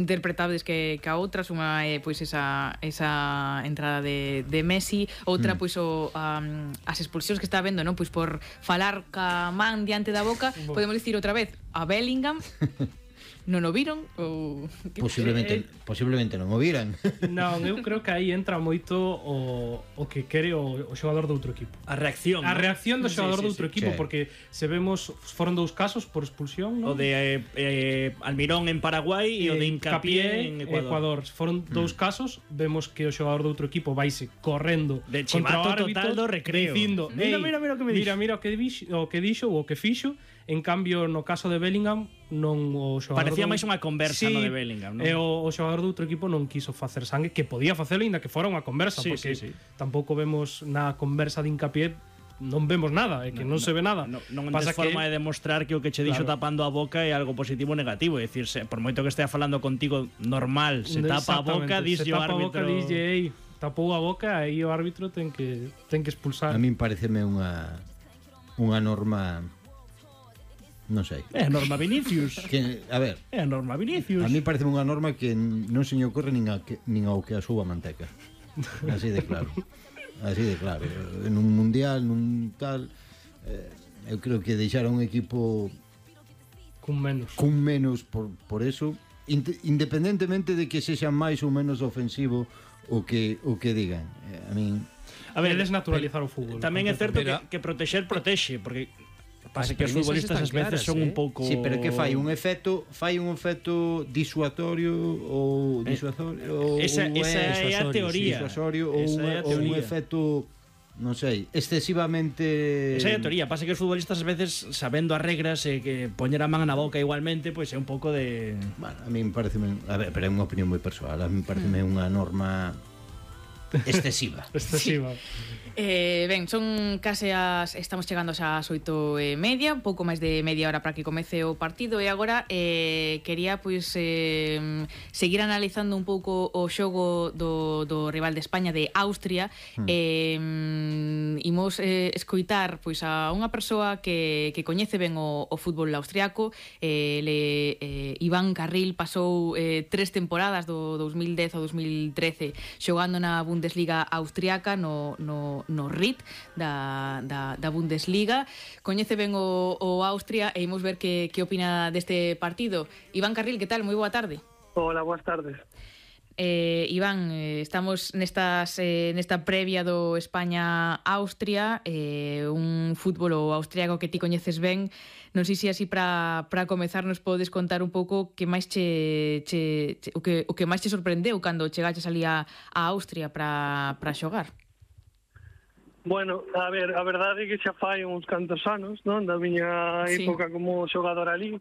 interpretables que a outras. Unha é pois esa entrada de Messi, outra pois as expulsións que está habendo, non? Pois por falar ca man diante da boca. Podemos dicir outra vez a Bellingham. Non o viron ou posiblemente non o viran. Non, eu creo que aí entra moito o que quere o xogador do outro equipo. A reacción do xogador do outro equipo, porque se vemos foron 2 casos por expulsión, non? O de Almirón en Paraguai e o de Hincapié en Ecuador. Foron 2 casos, vemos que o xogador do outro equipo vaise correndo de contra o árbitro total do recreo, dicindo, mira o que me dixo. Mira o que dixo ou o que fixo. En cambio, no caso de Bellingham, non o xogador parecía máis unha conversa no de Bellingham, non? E o xogador do outro equipo non quiso facer sangue, que podía facelo ainda que fora unha conversa, porque tampouco vemos na conversa de Hincapié, non vemos nada, é que non se ve nada. Non tes forma de demostrar que o que che dixo tapando a boca é algo positivo ou negativo, é dicir, por moito que estea falando contigo normal, se tapa a boca, dixo o árbitro, tapou a boca e o árbitro ten que expulsar. A min pareceme unha norma. Non sei. É a norma Vinicius. A ver. É a norma Vinicius. A mí parece unha norma que non se me ocorre nin ao que a súa manteca. Así de claro. Así de claro. En un mundial, nun tal, eu creo que deixar un equipo cun menos por eso, independentemente de que sexa máis ou menos ofensivo o que digan. A min desnaturalizar o fútbol. Tamén é certo que protexer protexe, porque pasa que os futbolistas ás veces son un pouco... Sí, pero que fai un efecto disuasorio ou esa é a teoría. Ou un efecto, non sei, excesivamente... Esa é a teoría. Pasa que os futbolistas ás veces, sabendo as regras e que poñer a man na boca igualmente, pois é un pouco de... Bueno, a mí me parece... A ver, pero é unha opinión moi persoal. A mí me parece unha norma... excesiva. Ben, son case estamos chegando xa ás 8:30, un pouco máis de media hora para que comece o partido. E agora quería pois seguir analizando un pouco o xogo do rival de España, de Austria. Imos escoitar pois a unha persoa que coñece ben o fútbol austriaco. Iván Carril pasou 3 temporadas do 2010 ao 2013 xogando na Bundesliga austriaca, no RIT da Bundesliga. Coñece ben o Austria e imos ver que opina deste partido. Iván Carril, que tal? Moi boa tarde. Hola, boas tardes. Iván, estamos nesta previa do España-Austria, un fútbol austriaco que ti coñeces ben. Non sei se así para comezar nos podes contar un pouco que máis o que máis te sorprendeu cando chegaches ali a Austria para xogar. Bueno, a ver, a verdade é que xa fai uns cantos anos, non? Da miña época como xogador ali,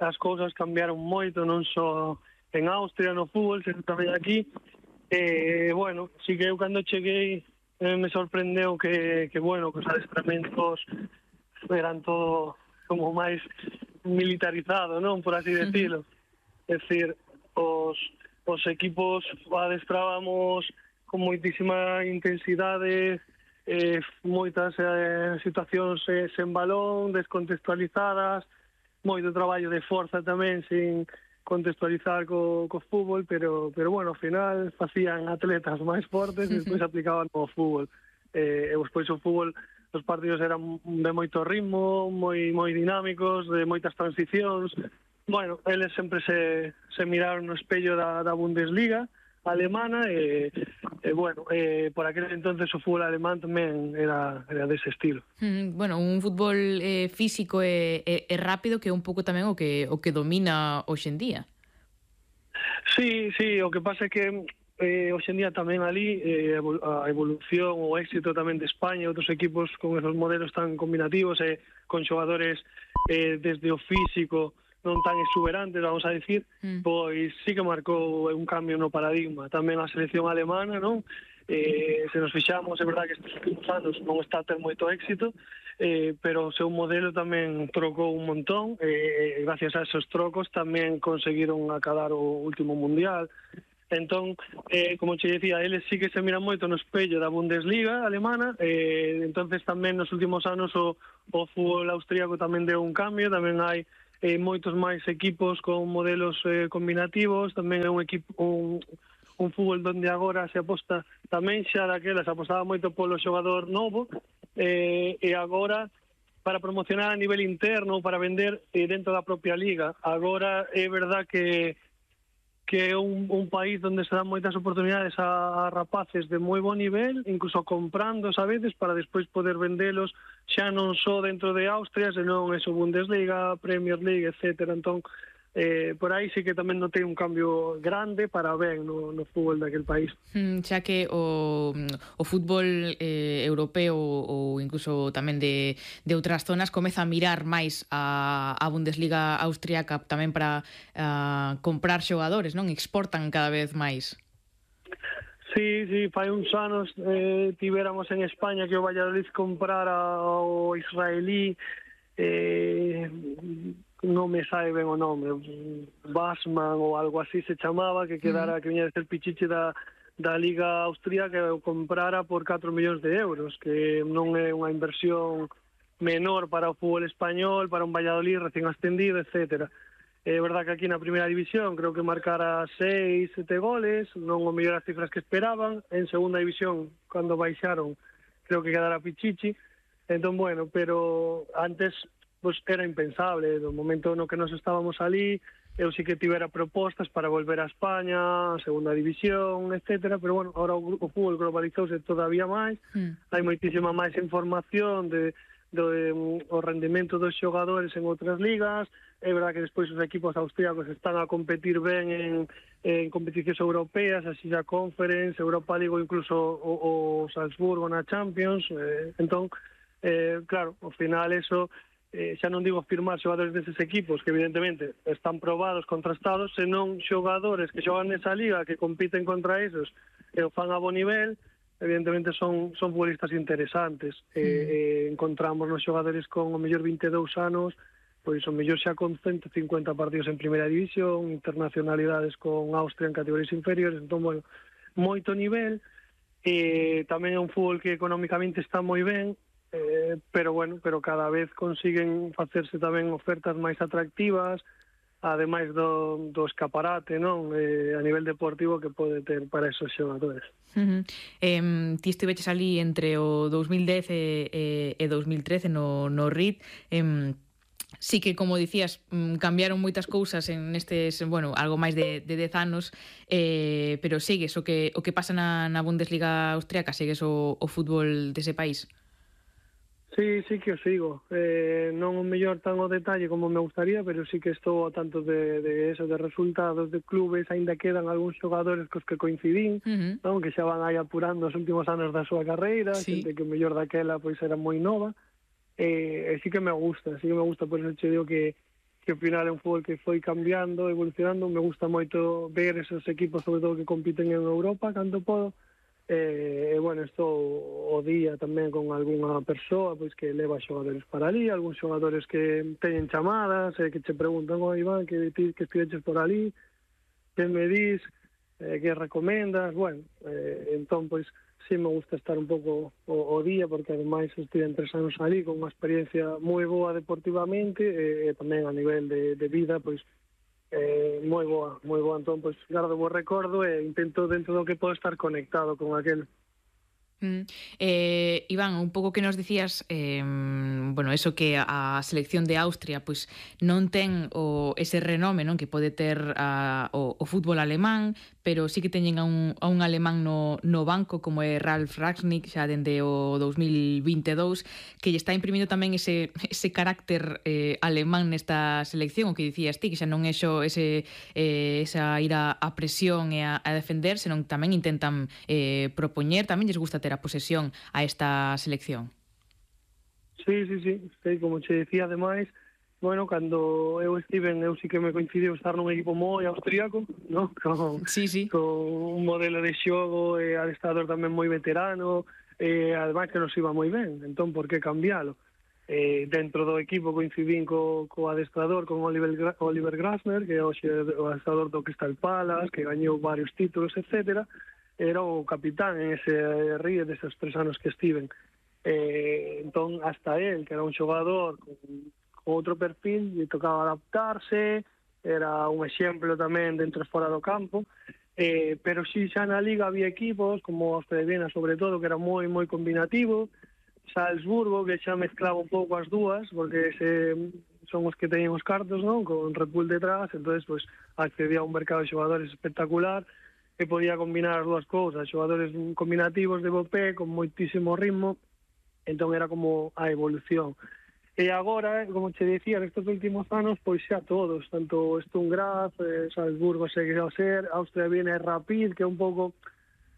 as cousas cambiaron moito, non só en Austria no fútbol, sino tamén aquí. Bueno, sí que eu cando cheguei me sorprendeu que bueno, que os adestramentos eran todo como máis militarizado, non? Por así decirlo. É dicir, os equipos adestrábamos con moitísima intensidade, moitas situacións sen balón, descontextualizadas, moito traballo de forza tamén sin contextualizar co fútbol, pero bueno, ao final facían atletas máis fortes e despois aplicaban o fútbol. E despois o fútbol, os partidos eran de moito ritmo, moi dinámicos, de moitas transicións. Bueno, eles sempre se miraron no espello da Bundesliga alemana e bueno, por aquel entonces o fútbol alemán tamén era dese estilo. Bueno, un fútbol físico e rápido que é un pouco tamén o que domina hoxe en día. Sí, o que pasa é que hoxe en día tamén ali a evolución, o éxito tamén de España e outros equipos con esos modelos tan combinativos e con xogadores desde o físico non tan exuberantes, vamos a decir, pois sí que marcou un cambio no paradigma. Tamén a selección alemana, non? Se nos fixamos, é verdade que estes últimos anos non está a ter moito éxito, pero o seu modelo tamén trocou un montón, e gracias a esos trocos tamén conseguiron acadar o último mundial. Entón, como che dicía, eles sí que se miran moito no espello da Bundesliga alemana, entonces tamén nos últimos anos o fútbol austríaco tamén deu un cambio, tamén hai moitos máis equipos con modelos combinativos, tamén é un fútbol donde agora se aposta tamén xa daquela, se apostaba moito polo xogador novo, e agora para promocionar a nivel interno, para vender dentro da propia liga. Agora é verdad que é un país onde se dan moitas oportunidades a rapaces de moi bon nivel, incluso comprándoos a veces para despois poder vendelos xa non só dentro de Austria, senón eso, Bundesliga, Premier League, etcétera. Entón, por aí sí que tamén notei un cambio grande para ben no fútbol daquel país. Xa que o fútbol europeo ou incluso tamén de outras zonas comeza a mirar máis a Bundesliga austriaca tamén para comprar xogadores, non? Exportan cada vez máis. Sí, fai uns anos tivéramos en España que o Valladolid comprara o israelí, non me sabe ben o nome, Basman ou algo así se chamaba, que quedara, que viña de ser pichiche da Liga Austríaca, que o comprara por 4 millóns de euros, que non é unha inversión menor para o fútbol español, para un Valladolid recién ascendido, etcétera. É verdad que aquí na primeira división creo que marcara 6, 7 goles, non o mellor as cifras que esperaban. En segunda división, cando baixaron, creo que quedara pichichi. Entón, bueno, pero antes pues era impensable. No momento no que nos estábamos ali, eu sí que tivera propostas para volver a España, a segunda división, etcétera, pero bueno, ahora o fútbol globalizouse todavía máis, hai moitísima máis información o rendimento dos xogadores en outras ligas. É verdad que despois os equipos austríacos están a competir ben en competicións europeas, así a Conference, Europa League ou incluso o Salzburgo na Champions. Entón, claro, ao final eso, xa non digo firmar xogadores deses equipos que evidentemente están probados, contrastados, senón xogadores que xogan nesa liga, que compiten contra esos e o fan a bon nivel, evidentemente son futbolistas interesantes. Encontramos nos xogadores con o mellor 22 anos, pois o mellor xa con 150 partidos en primeira división, internacionalidades con Austria en categorías inferiores. Entón, bueno, moito nivel, tamén é un fútbol que económicamente está moi ben, pero cada vez consiguen facerse tamén ofertas máis atractivas, ademais do escaparate, non, a nivel deportivo que pode ter para esos xogadores. Ti estiveches ali entre o 2010 e 2013 no RID. Sí que, como dicías, cambiaron moitas cousas en nestes, bueno, algo máis de 10 anos, pero sigues o que pasa na Bundesliga austriaca, sigues o fútbol dese país? Sí que o sigo. Non o mellor tan ao detalle como me gustaría, pero sí que estou a tanto de resultados de clubes. Aínda quedan algúns xogadores cos que coincidín, non? Que xa van aí apurando os últimos anos da súa carreira, xente que o mellor daquela pois era moi nova. Sí que me gusta, por eso che digo que ao final é un fútbol que foi cambiando, evolucionando. Me gusta moito ver esos equipos, sobre todo que compiten en Europa, canto podo. Bueno, estou o día tamén con algunha persoa pois que leva xogadores para ali, algúns xogadores que teñen chamadas, que che preguntan: Iván, que estiveches por ali, que me dis, que recomendas. Bueno, entón, pois, sí me gusta estar un pouco o día, porque ademais estive 3 anos ali con unha experiencia moi boa deportivamente, e tamén a nivel de vida, pois, moi boa. Entón, pois, gardo bo recordo e intento dentro do que podo estar conectado con aquel. Iván, un pouco que nos dicías, bueno, eso que a selección de Austria pois non ten ese renome, non, que pode ter o fútbol alemán, pero sí que teñen a un alemán no banco como é Ralf Rangnick xa dende o 2022, que lle está imprimindo tamén ese carácter alemán nesta selección, o que dicías ti, que xa non é xo esa ir a presión e a defender, senón tamén intentan propoñer, tamén lles gusta ter a posesión a esta selección. Sí, como che decía, ademais, bueno, cando eu estiven, eu sí que me coincidiu estar nun equipo moi austríaco, ¿no? Con un modelo de xogo e adestrador tamén moi veterano, ademais que nos iba moi ben, entón por que cambialo? Dentro do equipo coincidín co adestrador, con Oliver Glasner, que é o adestrador do Crystal Palace, que gañou varios títulos, etcétera. Era o capitán en ese RIE deses 3 anos que estiven. Entón, hasta él, que era un xogador outro perfil, lle tocaba adaptarse, era un exemplo tamén dentro e fora do campo, pero si xa na Liga había equipos, como os de Viena sobre todo, que era moi combinativo, Salzburgo, que xa mezclaba un pouco as dúas, porque son os que teñen os cartos, non? Con Red Bull detrás, entonces pues, accedía a un mercado de xogadores espectacular, e podía combinar as dúas cousas, xogadores combinativos de bopé, con moitísimo ritmo, entón era como a evolución. E agora, como che dicía, nestes últimos anos, pois xa todos, tanto Sturm Graz, Salzburgo segue a ser, Austria Viena e Rapid, que é un pouco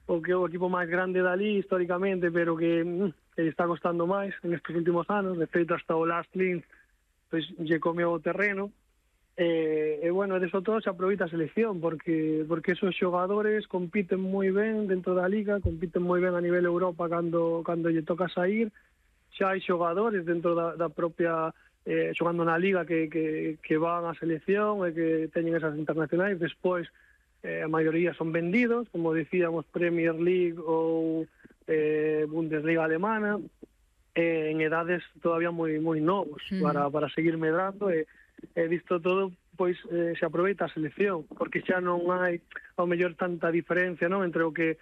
o equipo máis grande dali históricamente, pero que está costando máis en estes últimos anos. De feito, hasta o Last Linz pois, lle comeu o terreno. E bueno, de eso todo se aproveita a selección, porque esos xogadores compiten moi ben dentro da Liga, compiten moi ben a nivel Europa cando lle toca sair. Xa hai xogadores dentro da propia xogando na Liga que van á selección e que teñen esas internacionais. Despois a maioría son vendidos, como decíamos, Premier League ou Bundesliga alemana, en edades todavía moi novos para seguir medrando. Disto todo, pois se aproveita a selección, porque xa non hai ao mellor tanta diferencia, non, entre o que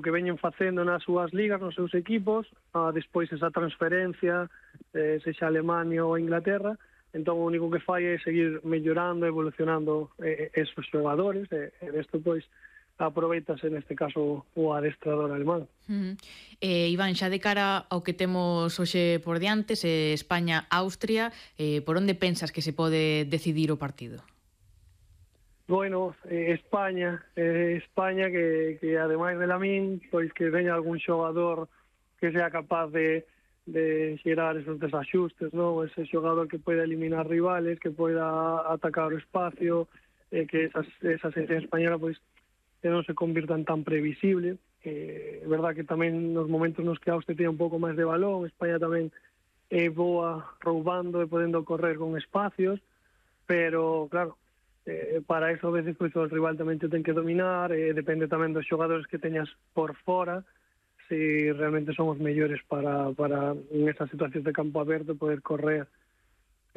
veñen facendo nas súas ligas, nos seus equipos, despois esa transferencia, sexa Alemania ou Inglaterra. Entón o único que fai é seguir mellorando, evolucionando esos xogadores, e desto pois aproveitase neste caso o adestrador alemán. Iván, xa de cara ao que temos hoxe por diante, España-Austria, por onde pensas que se pode decidir o partido? Bueno, España que ademais de Lamín, pois que veña algún xogador que sea capaz de xerar esos desaxustes, non? Ese xogador que poida eliminar rivales, que poida atacar o espacio, que esa selección española pois que non se convirtan tan previsible. É verdad que tamén nos momentos nos que Austria tiene un pouco máis de balón, España tamén é boa roubando e podendo correr con espacios, pero claro, para eso a veces pues, o rival tamén te ten que dominar, depende tamén dos xogadores que teñas por fora, si realmente son os mellores para en esas situacións de campo aberto poder correr.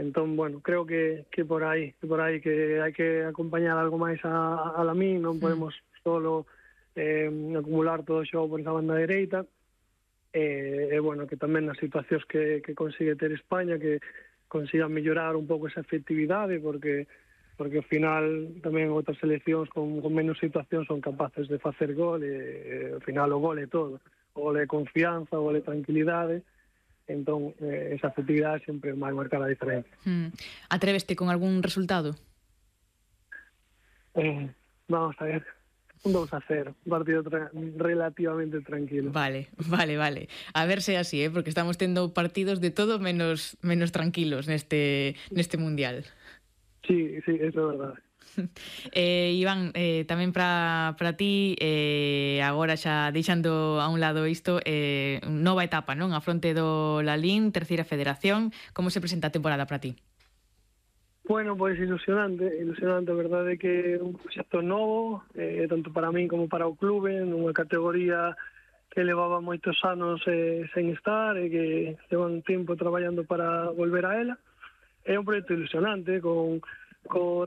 Entón, bueno, creo que por aí que hai que acompañar algo máis a Lamín, non podemos solo acumular todo o xogo por esa banda dereita, e bueno, que tamén nas situacións que consigue ter España, que consiga mellorar un pouco esa efectividade, porque ao final tamén outras seleccións con menos situacións son capaces de facer gol, e ao final o gol é todo, o gol é confianza, o gol é tranquilidade. Entón, esa efectividade sempre vai marcar a diferencia. Atreveste con algún resultado? Vamos a ver, un 2-0, un partido relativamente tranquilo. Vale. A ver se é así, porque estamos tendo partidos de todo menos tranquilos neste Mundial. Sí, eso é verdade. Iván, tamén para ti, agora xa deixando a un lado isto, nova etapa, non? A fronte do Lalín, terceira federación, como se presenta a temporada para ti? Bueno, pois ilusionante, a verdade é que é un proxecto novo, tanto para min como para o clube, nunha categoría que levaba moitos anos sen estar, e que levan tempo traballando para volver a ela. É un proxecto ilusionante, con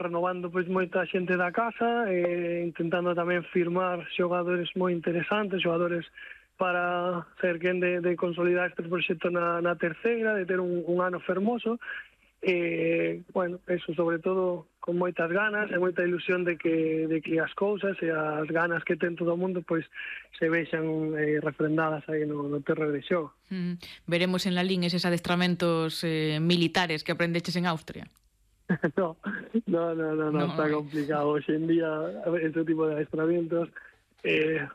renovando pois moita xente da casa, intentando tamén firmar xogadores moi interesantes, xogadores para ser quen de consolidar este proxecto na terceira, de ter un ano fermoso. Bueno, eso sobre todo con moitas ganas e moita ilusión de que as cousas e as ganas que ten todo o mundo pois se vexan refrendadas aí no terreo de xogo. Veremos en Lalín eses adestramentos militares que aprendeches en Austria. No, está complicado. Hoxe en día, ese tipo de adestramentos,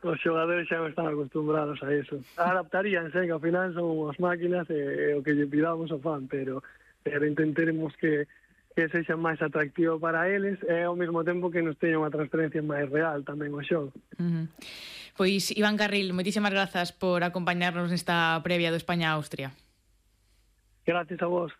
os xogadores xa non están acostumbrados a eso. Adaptaríanse, que ao final son as máquinas e o que lle pidamos o fan, pero intentaremos que sexa máis atractivo para eles e ao mesmo tempo que nos teña unha transferencia máis real tamén o xogo. Pois, Iván Carril, moitísimas grazas por acompañarnos nesta previa do España-Austria. Gracias a vos.